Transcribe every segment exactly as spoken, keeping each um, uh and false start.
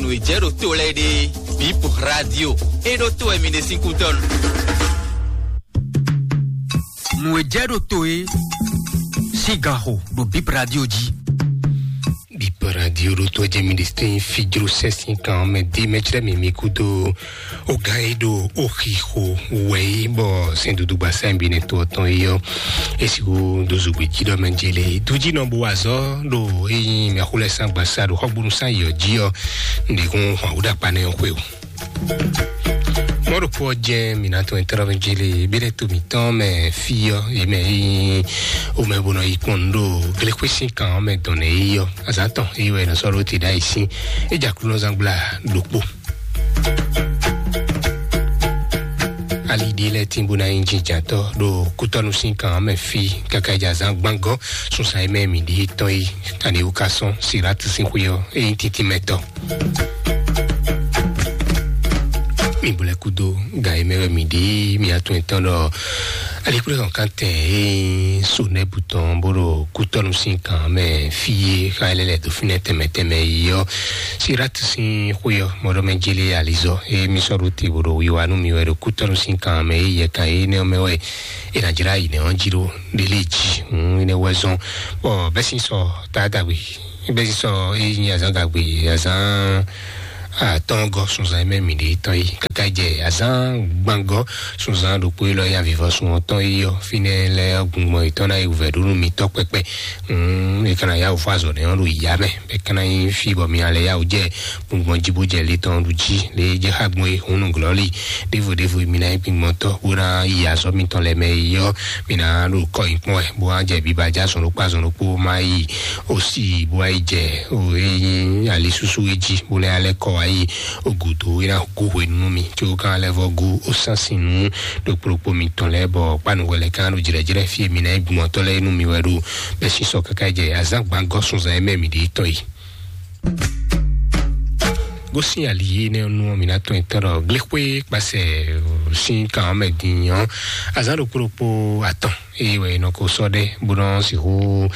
Nǔ e jɛ ɖo to lɛ́ɛ ɖe, Bip Radio. É ɖó to wɛ mi ɖe sín kútɔ́nu. Nǔ e jɛ ɖo to é sín ganxo ɖo Bip Radio jí. Bip Radio ɖo to jɛ mi ɖe sín fijro sɛ́sìn kan mɛ dí mɛ chrɛ mi mi kúdo. Ó gán e ɖo ó xixo wɛ é bɔ sɛn dúdú gbasá bi nɛ to ɔtɔn é ɔ́, é sixú dó zogbe jí ɖɔ mɛ jele dújínɔ bó wa azɔ́ ɖo é nyí mɛxó lɛ́ɛ sán gbasá ɖo xɔgbónú sán yɔ jí ɔ́, un ɖe kún hwan wú ɖo akpa nɛ ɔ́ xwe o. Mɔɖokpó ɔ́ jɛ mǐ ná tɔn ɛtɛ́ ɖɔ mɛ jele bí ɖɛ to mǐtɔn mɛ fí ɔ́, é mɛ é nyí ó mɛ bó nɔ yi kpɔ́n nǔ ɖo gléxwé sín kan ɔ́ mɛ dɔn nɛ é yɔ. Azǎn tɔn é wɛ è nɔ sɔ́ ɖó te ɖ'ayǐ sín. É jɛ Aklúnɔzán gbla ɖokpó. Ali ɖé lɛ́ɛ tín bó ná nyí jínjǎntɔ́ ɖo kútɔ́nú sín kan ɔ́ mɛ fí káká jɛ azǎn gbángɔ́ sunsan e mɛ mǐ ɖe tɔn yi. Ani wú ka sɔ́n Silátu sín xwé ɔ́, é nyí tíntín mɛ tɔn. Mi bó lɛ́ kúdó ga e mɛ wɛ mǐ ɖe mǐ atún etɔn ɖɔ alikúlẹ̀ hɔn kántɛn e nyí Sonɛ́bu tɔn bó ɖo kútɔ́nú sín kan mɛ fí e xa lɛ́ lɛ̌ dó fínɛ́ tɛnmɛ tɛnmɛ yi ɔ́. Silátu sín xwé ɔ́, mɔɖɔmɛ jélé alizɔ e mí sɔ́ ɖó te bó ɖo wiwa nú mi wɛ ɖo kútɔ́nú sín kan mɛ e yɛ kan énɛ́ ɔ́ mɛ wɛ è nǎ jlá yi nɛ̌ ɔ́ jí ɖó ɖélé jí. Hǔn énɛ́ wɛ zɔ́n bɔ bɛ́ sín sɔ táadagbe bɛ́ sín sɔ e nyí azǎn gagbe azǎn atɔ́ɔ́ngɔ́ sunzan e mɛ mǐ ɖe tɔn yi káká jɛ azǎn gbangɔ́ sunzan ɖokpó élɔ́ ya vivɔsun ɔ́ tɔn yi ɔ́, fínɛ́ lɛ́ɛ ɔ́ gbɔn yětɔn ná yi wǔvɛ́ ɖó nú mitɔ́ kpɛkpɛ. Hǔn è ka ná yá wǔ fɔ azɔ̌ nɛ́ ɔ́ ɖo yǐyá mɛ, bɔ é ka ná nyí fí bɔ mi ná lɛ́ yá wǔ jɛ gbɔngbɔn jí bó jɛ le tɔn ɖu jí, lě e jɛ xá gbɔn é hǔn nǔglɔ́lí ɖěvo ɖěvo mi ná nyí gbingbɔntɔ́ bó ná yi azɔ̌ mitɔn lɛ́ɛ mɛ yi ɔ́, mi ná ɖo kɔ nyi kpɔ́n wɛ bó ná jɛ biba jɛ azɔn ɖokpó azɔn ɖokpó má yi ó sì bó wá yi jɛ ó é nyí ali súsú é jí bó lɛ́ alɛ́ kɔ wá yi ó gǔdo é ná gú hwenu nú mi, có kan lɛ́ vɔ́ gú ó sán sin nú ɖokpó ɖokpó mitɔn lɛ́ɛ bɔ kpánu hwɛ lɛ́ɛ kan ɖo jlɛ̌jlɛ́ fí e mi ná nyí gbɔngbɔntɔ́ lɛ́ɛ nú mi wɛ ɖo bɛ́ sín sɔ káká jɛ azǎn gbangɔ́ sunzan e mɛ mi ɖe tɔn yi. Gosín ali énɛ́ nú ɔ́, mǐ ná tɔn etɔ́ ɖɔ gléxwé kpasɛ sín kan ɔ́ mɛ din ɔ́, azǎn ɖokpó ɖokpó atɔn eye wɛ è nɔ ko sɔ́ ɖɛ bó nɔ sixú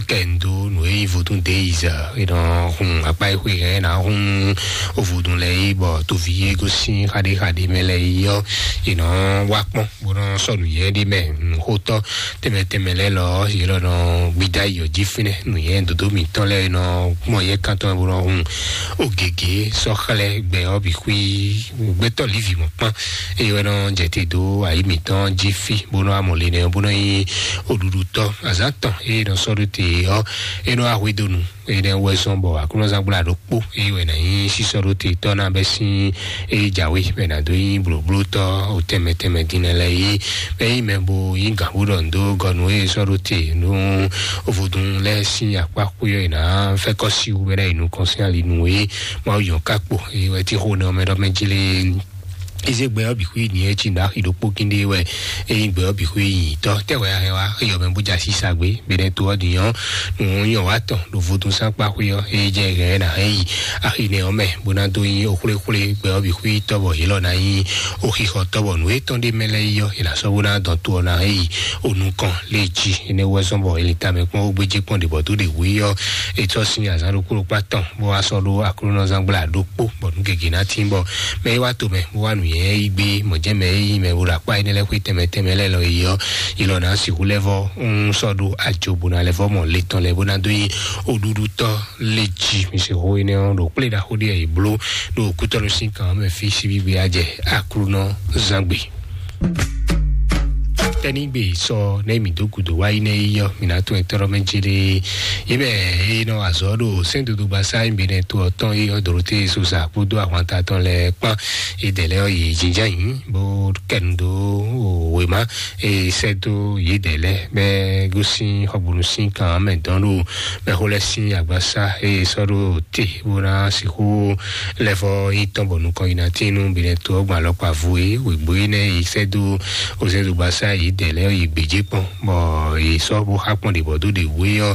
kɛ ndo nǔ e nyí vodún deyiza è nɔ hun akpá e xwe hɛn ná hun vodún lɛ yi bɔ toví e gosín xaɖé xaɖé mɛ lɛ yi ɔ́, è nɔ wá kpɔ́n bó nɔ sɔ́ nǔ nyɛ ɖi mɛ nǔxótɔ́ tɛnmɛ tɛnmɛ lɛ́ɛ lɔ yě lɔ nɔ gbida yi ɔ́ jí fínɛ́ nǔ nyɛ dǒdó mǐtɔn lɛ́ɛ nɔ gbɔn yɛ kántɔn bó nɔ hun ó gěgé sɔ́ xlɛ́ gbɛ ɔ́ bǐ xwí gbɛtɔ́ lívi mɔ̌ kpán eye wɛ nɔ jɛ te dó ayi mǐtɔn jí fí bó nɔ amɔ le nɛ bó nɔ nyí oɖuɖutɔ́ azǎn tɔn eye nɔ sɔ́ ɖó te ɔ́ é nɔ wá hwedó nu. Énɛ́ wɛ zɔ́n bɔ aklúnɔzán gbla ɖokpó eye wɛ nǎ nyí sísɔ́ ɖó te tɔ́ ná bɛ́ sín eye jǎwe bɛ nǎ dó nyí blǒblótɔ́ o tɛnmɛ tɛnmɛ din lɛ́ɛ yi bɛ nyí mɛ bo nyí gǎnbú ɖɔ ndo gɔnu eye sɔ́ ɖó te nú vodún lɛ́ɛ sín akpá xwé ɔ́ è nǎ fɛ́ kɔ́ sí wú bɛ ná yi nukɔn sín ali nú e Mawu yɔn ká kpo eye wɛ tí xo nɛ ɔmɛ ɖɔ mɛ jí lé. Ize gbɛ ɔ́ bǐ xwí nǐ e cí ɖo axi ɖokpó kíndé wɛ eye gbɛ ɔ́ bǐ xwí nyǐtɔ́ tɛ́ wɛ a hɛn wá axi ɔ́ mɛ bó jɛ así sa gbé bɛnɛ to ɔ́ din ɔ́ nǔ nyɔ wá tɔn ɖo vodúnsánkpá xwé ɔ́ eye jɛ hɛn ɛ nǎ hɛn yi axi nɛ ɔ́ mɛ bó ná dó nyí oxwléxwlé gbɛ ɔ́ bǐ xwí tɔ́ bɔ yě lɔ ná nyí oxixɔ tɔ́ bɔ nǔ étɔn ɖé mɛ lɛ́ɛ yi ɔ́ è nǎ sɔ́ bó ná dɔn to ɔ́ ná hɛn yi onukɔn lé jí. Énɛ́ wɛ zɔ́n bɔ è lin tamɛ kpɔ́n ó gbéjé kpɔ́n ɖě bɔ dó ɖě hu yi ɔ́ è tɔ́ sín azǎn ɖokpó ɖokpó atɔn bó wá sɔ́ ɖó aklúnɔzán gbla ɖokpó bɔ nǔ gěgé ná tín bɔ mɛ e wá to mɛ bó wá nǔ nyɛ yi gbé mɔ̌ jɛ́n mɛ e nyí mɛ bó ɖo akpá énɛ́ lɛ́ɛ xwé tɛnmɛ tɛnmɛ lɛ́ɛ lɔ yi ɔ́ yi lɔ ná sixú lɛ́ vɔ ń sɔ́ ɖó ajo bó ná lɛ́ vɔ mɔ le tɔn lɛ́ɛ bó ná dó nyí oɖuɖutɔ́ lé jí. Mi se xó énɛ́ ɔ́ ɖo kplé ɖaxó ɖé yi bló ɖo kútɔ́nú sín kan mɛ fí síbígbe á jɛ aklúnɔzán gbe. Tɛ́nígbe sɔ nɛ mǐ dó gǔdo wá yi nɛ yi ɔ́, mǐ ná tún ɛ tɔ́ɖɔ́ mɛ jélé. Yě mɛ e nɔ azɔ̌ ɖo sɛ́ndodogba sá nyí Benɛ́ to ɔ́ tɔn yi ɔ́, Dorote Sosa kpódó ahwanta tɔn lɛ́ɛ kpán. Yědɛɛ lɛ́ɛ ɔ́, yě jínjɔ́n ayǐ bó kɛ nu dó wěma e sɛ́ dó yědɛɛ lɛ́ɛ bɔ é gosín xɔgbónu sín kan mɛ dɔn ɖo mɛxó lɛ́ɛ sín agbasá e sɔ́ ɖo te bó ná sixú lɛ́ vɔ nyí tɔn bɔ nukɔn yi ná tín nú Benɛ́ to ɔ́ gbɔn alɔkpa vo e wěgbó énɛ́ e sɛ́ dó Ozɛ́dugba sá yě tɛ lɛ́ɛ yi gbějé kpɔ́n, bɔ yě sɔ́ bó xá kpɔ́n ɖě bɔ dó ɖě wú é ɔ́,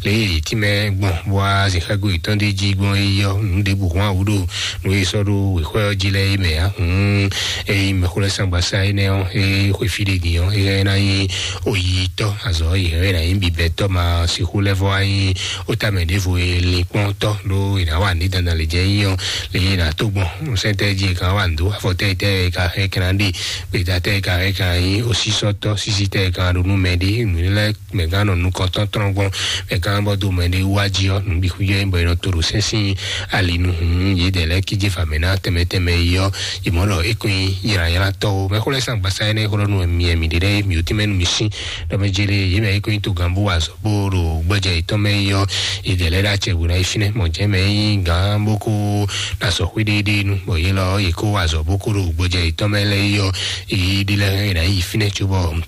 lě e yě tínmɛ gbɔn bó wá zǐnxágo yětɔn ɖé jí gbɔn é ɔ́, nǔ ɖěbǔ hɔn awǔ ɖo nǔ e sɔ́ ɖó wěxwɛ́ ɔ́ jí lɛ́ɛ é mɛ ǎ. Hǔn ényí mɛxó lɛ́ɛ sán gbasá énɛ́ ɔ́, é xwe fí ɖé din ɔ́, é ná nyí oyitɔ́ azɔ̌ yě hɛn ná nyí bibɛtɔ́ ma sixú lɛ́ vɔ wá nyí ó tamɛ ɖěvo e linkpɔ́ntɔ́ ɖó è nǎ wa nǔ dandan lě jɛ nyí ɔ́, lě e è nǎ tó gbɔn sɛ́ntɛ́ jí è ka wa nǔ dó afɔtɛ́ tɛ́ è ka hɛn kɛ́ ná ɖe gbeta tɛ́ è ka hɛn kɛ́ ná nyí osísɔ́tɔ́ sísítɛ́ è ka ɖo nú mɛ ɖé nǔ lɛ́ɛ mɛ gán nɔ nukɔntɔn tɔn gbɔn, mɛ gán bɔ do mɛ ɖé wá jí ɔ́, nǔ bǐ xú yɛ bɔ è nɔ to ɖo sɛ́n sín ali nu hǔn yědɛɛ lɛ́ɛ kíjé fa mɛ ná tɛmɛ tɛmɛ yi ɔ́, yě mɔ ɖɔ é kún nyí ylǎylátɔ́ ó. Mɛ xó lɛ́ɛ sán gbasá énɛ́ xó ɖɔ nú mi mi ɖe ɖɛ́ mi ò tínmɛ nú mi sín ɖɔ mɛ jélé yě mɛ é kún nyí togán bó wa azɔ̌ bó ɖo gbɔjɛ yětɔn mɛ yi ɔ́, yědɛɛ lɛ́ɛ ɖo acɛ bó ná yi fínɛ́ mɔ jɛ́n mɛ é nyí gán bó kó ná sɔ xwé ɖéɖéé nu bɔ yě lɔ yě kó wa azɔ̌ bó kó ɖo gbɔjɛ yětɔn mɛ lɛ́ɛ yi ɔ́, yě ɖi lɛ́ɛ é ná yi fínɛ́ cóbɔ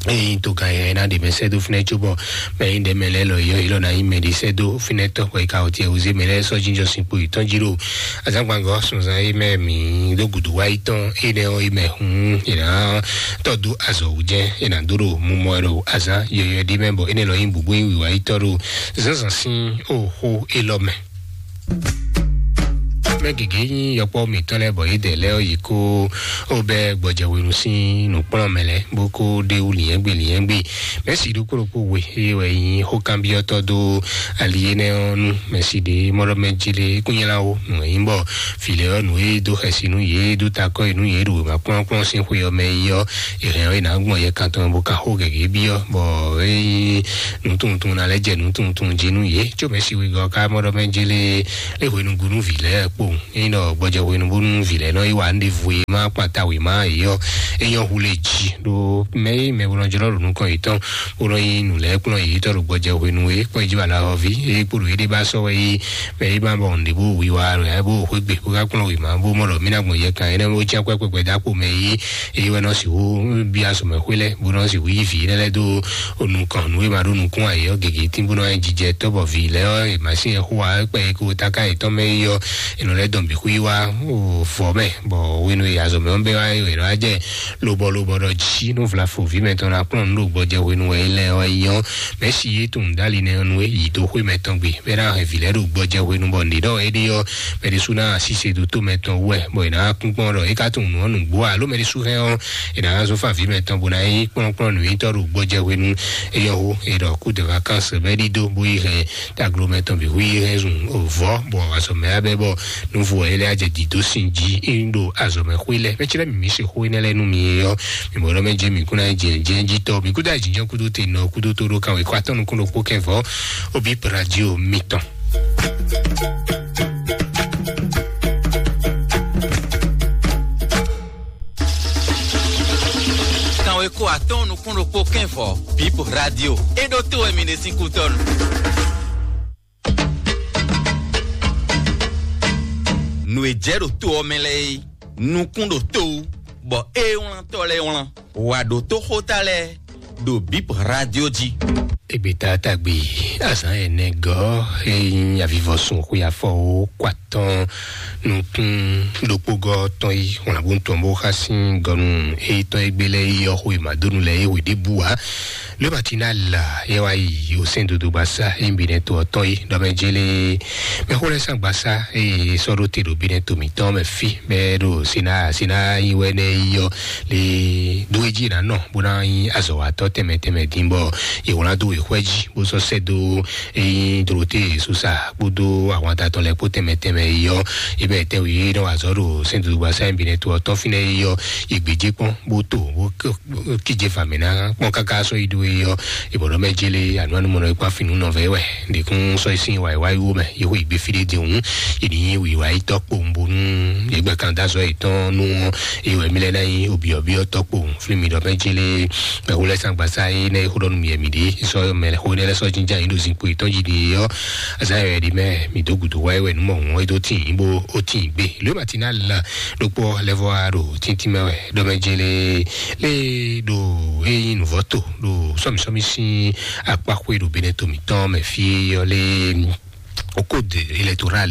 eye to gan yɛ na ɖe mɛ sɛ́ dó fínɛ́ cóbɔ mɛ yi ɖe mɛ lɛ́ɛ lɔ yɔ yi lɔ na yi mɛ ɖe sɛ́ dó fínɛ́ tɔ́ kɔ yi ka o tiɛ wúzé mɛ lɛ́ɛ sɔ́ jínjɔ sin kpo yětɔn jí ɖo azángbangɔ sunzan yi mɛ mǐ ɖó gudu wá yi tɔn énɛ́ ɔ́ yi mɛ hǔn è nǎ tɔ́ dó azɔ̌ wú jɛ́n è nǎ dó ɖo mumɔ ɛ ɖo azán yɔyɔ ɖi mɛ bɔ énɛ́ lɔ nyí bǔbú yi wǐwá yi tɔ́ ɖo zǎnzǎn sín oxó élɔ́ mɛ. Mɛ gěgé nyí yɔkpɔ́ mǐtɔn lɛ́ɛ bɔ yědɛɛ lɛ́ɛ ɔ́ yi kó ó bɛ́ gbɔjɛhwenu sín nǔkplɔ́nmɛ lɛ́ɛ bó kó ɖe wú lǐnyɛ́gbe lǐnyɛ́gbe. Mɛ̌si ɖokpó ɖokpó we eye wɛ nyí xókanbyɔ́tɔ́ dó ali énɛ́ ɔ́ nú mɛ̌si ɖě mɔɖɔmɛ jí lé kúnyɛ́láwo nǔ e nyí bɔ vǐ lɛ́ɛ ɔ́ nǔ e dó xɛsi nú yě dó takɔ́ yi nú yě ɖo wěma kplɔ́nkplɔ́n sín xwe ɔ́ mɛ yi ɔ́, è hɛn ɔ́ è nǎ gbɔn yɛ kan tɔn bó ka xó gěgé byɔ́ bɔ é nyí nǔtunwuntunwun ná lɛ́ jɛ nǔtunwuntunwun jí nú yě có mɛ̌si wegɔ́ ká mɔɖɔmɛ jí lé lé hwenu gúnú vǐ lɛ́ɛ kpowun. Ényí ɖɔ gbɔjɛ hwenu bónú vǐ lɛ́ɛ nɔ yi wa nǔɖé vu e ma kpata wěma yě ɔ́, é nyɔ́ hu lé jí ɖó mɛ e mɛ bó nɔ jlɔ́ ɖo nukɔn yětɔn bó nɔ nyi nǔ lɛ́ɛ kplɔ́n yětɔn ɖo gbɔjɛ hwenu e kpɔ́n jí wala hɔví e kpo ɖo yéɖée ba sɔ́ wɛ yí mɛ e ma bɔ nǔɖé bó wiwa wɛ bó xwé gbe bó ka kplɔ́n wěma bó mɔ ɖɔ mí ná gbɔn yɛ kan énɛ́ bó cyán kwɛ́ kpɛkpɛ dó akpo mɛ yí eye wɛ nɔ sixú bí azɔ̌mɛxwé lɛ́ɛ bó nɔ sixú yí vǐ énɛ́ lɛ́ɛ dó nukɔn nǔ e ma ɖó nukún ayǐ ɔ́ gěgé tín bó nɔ nyi jijɛ tɔ́ bɔ vǐ lɛ́ɛ ɔ́ è ma sín ɛ xó wa kpɛ e ko táká yětɔn mɛ yi ɔ́ è nɔ lɛ́ dɔn bǐ xwí wá vɔ̌ mɛ bɔ hwenu e azɔ̌ mɛ ɔ́ bɛ́ wá è nɔ wá jɛ lobɔ lobɔ ɖɔ jí nú vlafo vǐ mɛtɔn ná kplɔ́n nǔ ɖo gbɔjɛ hwenu wɛ é lɛ́ɛ ɔ́ yi ɔ́ mɛ si yé tunwun dali nɛ ɔ́ nú é yi dó xwé mɛtɔn gbe bɛ́ ná hɛn vǐ lɛ́ɛ ɖo gbɔjɛ hwenu bɔ nǐ ɖɔ éɖée ɔ́ mɛ ɖésú ná asíse ɖo tó mɛtɔn wú wɛ bɔ è nǎ kún kpɔ́n ɖɔ é ka tunwun nǔ ɔ́ nǔgbó alo mɛ ɖésú hɛn ɔ́ è nǎ zɔ́n fá vǐ mɛtɔn bó ná nyí kplɔ́nkplɔ́n nǔnywɛ́tɔ́ ɖo gbɔjɛ hwenu é yɔ hó è ɖɔ kú de vacances bɛ́ ɖídó bó yi hɛn taglo mɛtɔn bǐ hu yi hɛn zun vɔ̌ bɔ azɔ̌ mɛ abɛ bɔ nǔvo ɛ lɛ́ ajɛ dǐdó sin jí é ń ɖo azɔ̌ mɛ xwé lɛ́ mɛ cɛ́ mǐ se xó énɛ́ lɛ́ɛ nú mi é ɔ́ mi mɔ̌ ɖɔ mɛ jɛ mǐ kún ná jɛ jɛ jí tɔ́ mi kúdó ajínjɔ́n kúdó te nɔ kúdó tó ɖó kan wěkɔ atɔ́ nukún ɖokpó kɛ́ vɔ̌ obi radio mitɔn. Kanweko atɔ́ɔ́n nukún ɖokpó kɛ́nvɔ bip radio é ɖó tó wɛ mi ɖe sín kútɔ́nu. Nǔ e jɛ ɖo tó ɔ́ mɛ lɛ́ɛ é nukún ɖo tó wú bɔ é wlántɔ́ lɛ́ɛ wlán wǎ ɖó tó xóta lɛ́ɛ ɖo bip radio jí. Egbeta tagbe azán ɛnɛ gɔ́ é nyí avivɔsun xwe afɔ ó kó atɔ́ɔ́n nukún ɖokpógɔ́ tɔn yi wlǎnbú tɔn bó xá sín gɔnu éyítɔn e gbé lɛ́ɛ yi ɔ́ xwe màdónu lɛ́ɛ é hwe ɖěbǔ ǎ. Lóbati ná la é wá yi osɛ́n dodogba sá é nyi binɛ to ɔ́ tɔn yi ɖɔ mɛ jélé mɛxó lɛ́ɛ sán gbasá eye sɔ́ ɖó te ɖo binɛ to mǐtɔn mɛ fí bɛ́ ɖo sina sina yi wɛ nɛ yi ɔ́ le ɖó é jí ná nɔ bó ná nyí azɔ̌watɔ́ tɛnmɛ tɛnmɛ dín bɔ è wlán dó wěxwɛ́ jí bó sɔ́ sɛ́ dó é nyí Dorote Susa kpódó ahwanta tɔn lɛ́ɛ kpó tɛnmɛ tɛnmɛ yi ɔ́. Ibɛ tɛnwe e nɔ wa azɔ̌ ɖo sɛ́ndodogba sɛ́n binɛ to ɔ́ tɔn fínɛ́ yi ɔ́, yi gbějé kpɔ́n bó to bó kíjé fa mǐ ná kpɔ́n káká sɔ́ yi ɖó é ɔ́. Ìbɔ̀dɔ́ mɛ jélé ànú anú mɔnɔ ikpá fínú nɔ vɛ wɛ ɖekún sɔ́ yi sín wàyíwáyí wó mɛ yi xó yi gbé fí ɖé din òun yi ní wǐwá yi tɔ́ kpowun bónú yě gbɛ kan dó azɔ̌ yětɔn nú wọn. Eye wɛ mí lɛ́ ná nyí obyɔ̌byɔ́ tɔ́ kpowun fí mi ɖɔ mɛ jélé mɛ xó lɛ́ sán gbasá é nɛ́ xó ɖɔ nú mi yɛ mi ɖě sɔ́ mɛ xó nɛ́ lɛ́ sɔ́ jínjá yín ɖo zinkpo yětɔn jí ɖe ɔ́. Azán yɛ ɖi mɛ mi dó gǔdo wá wɛ nú mɔ wọn é dó tín yín bó ó tín gbé lóyè màtí ná la ɖokpó lɛvɔ wa ɖo tíntín mɛ wɛ ɖɔ mɛ jélé lé ɖo é nyí nǔvɔ́ to ɖo sɔ́mìsɔ́mì sín akpáxwé ɖo benɛ to mǐtɔn mɛ fí ɔ́ lé. Au code électoral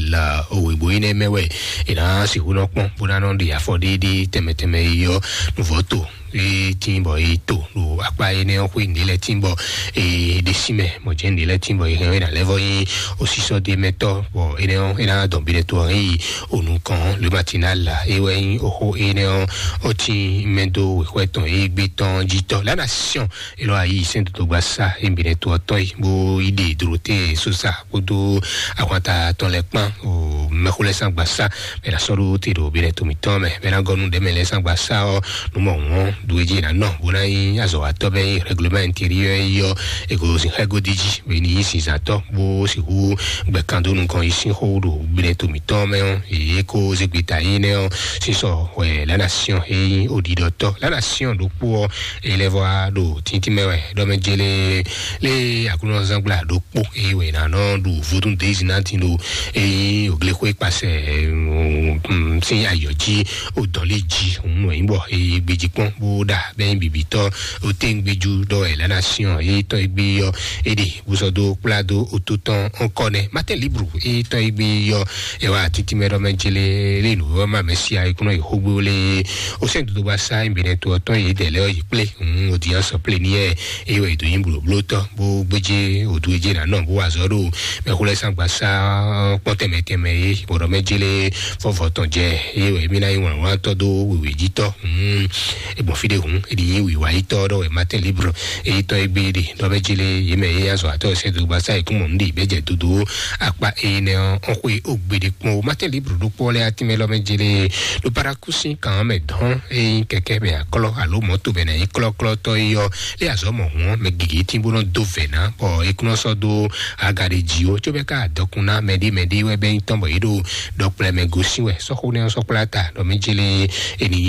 òwìbó énɛ́ mɛ wɛ è nǎ sixú nɔ kpɔ́n bó ná nɔ ɖe afɔ ɖéɖé tɛnmɛ tɛnmɛ yi ɔ́ nǔvɔ́ to e tin bɔ e to ɖo akpa énɛ́ ɔ́ xwé nǔɖé lɛ́ɛ tin bɔ e ɖe sí mɛ mɔ jɛ nǔɖé lɛ́ɛ tin bɔ e hɛn ɔ́ e ná lɛ́ vɔ nyí osisɔ ɖé mɛ tɔ́ bɔ énɛ́ ɔ́ e ná dɔn bi ɖe to ɔ́ hɛn yi onukɔn lómatina la e wɛ nyí oxó énɛ́ ɔ́ ɔ́ tin mɛ dó wěxwɛ tɔn e gbé tɔn jí tɔ́ lánà siɔn e lɔ ayi sɛn dodogba sa e bi ɖe to ɔ́ tɔn yi bó yi ɖe dorote sosa kpódó ahwanta tɔn lɛ́ɛ kpán o mɛxó lɛ́ɛ sán gbasa mɛ la sɔ́ ɖó te ɖo bi ɖe to mǐtɔn mɛ mɛ na gɔnu ɖɛmɛ lɛ́ɛ sán gbasa ɔ́ numɔ wɔn ɖuwéjì ná nɔ bó ná nyí azɔ̌watɔ́ bɛ nyí règlement intérieur yi ɔ́ ego sin xɛgodi jí bɛ ní nyí sinzatɔ́ bó sixú gbɛkando nukɔn yi sín xó ɖo gblɛ to mǐtɔn mɛ ɔ́ èyí kó zégbeta yi nɛ ɔ́ sísɔ wɛ la nation e nyí oɖiɖɔtɔ́ la nation ɖokpó ɔ́ èyí lɛ vɔ ɖo tíntín mɛ wɛ ɖɔmɛ jele lé aklúnɔzán gbla ɖokpó èyí wɛ ná nɔ ɖu vodún dezi ná tin ɖo èyí òglexwé kpasẹ̀ sín ayọ̀ jí o dɔn lé jí òun nɔ yín bɔ e gbejí kpɔ́n bó ɖa bɛ nyí bibitɔ o te ŋgbejú ɖɔ ɛ lana siɔn e tɔn e gbe yɔ e ɖe bó sɔ dó kplá dó o tó tɔn ɔkɔ nɛ mate libru e tɔn e gbe yɔ ɛ wá títí mɛ ɖɔ mɛ jele lé nu wɛ ma mɛ sia e kúnɔ yi xógbó lé o sɛn dodo ba sa e bɛnɛ to ɔtɔn yi dɛ lɛ yi kplé òun o diyan sɔ plé ni ɛ e wɛ do nyi blóbló tɔ bó gbéjé o du e jé na nɔ bó wá zɔ ɖo mɛ xó lɛ sangba sa kpɔn tɛmɛ tɛmɛ ye bɔdɔ mɛ jele fɔfɔ tɔn jɛ ye wɛ mi na yi wlan wlan tɔ do wewe ji tɔ hmm egbɔn fi de hun edi yi wiwa yi tɔ dɔ wɛ matin libre eyi tɔ egbe de dɔ bɛ jele ye mɛ ye azɔ atɔ sɛ do gbasa ekun mɔ ndi bɛ jɛ dodo akpa eyi nɛ ɔn xwe ogbede kpɔn o matin libre do kpɔ lɛ atimɛ lɔ mɛ jele do parakusi kan mɛ dɔn eyi kɛkɛ bɛ aklɔ alo mɔto bɛ na yi klɔklɔ tɔ yi yɔ lé azɔ mɔ hɔn mɛ gigi tí bó nɔ dó vɛ ná bɔ ekun sɔ dó aga de dzi o tso bɛ ká dɔkun ná mɛdi mɛdi wɛ bɛ nyitɔn bɔ yi ɖo dɔkplɛ mɛ gosi wɛ sɔxo nɛ sɔkpla ta dɔ mi jele eni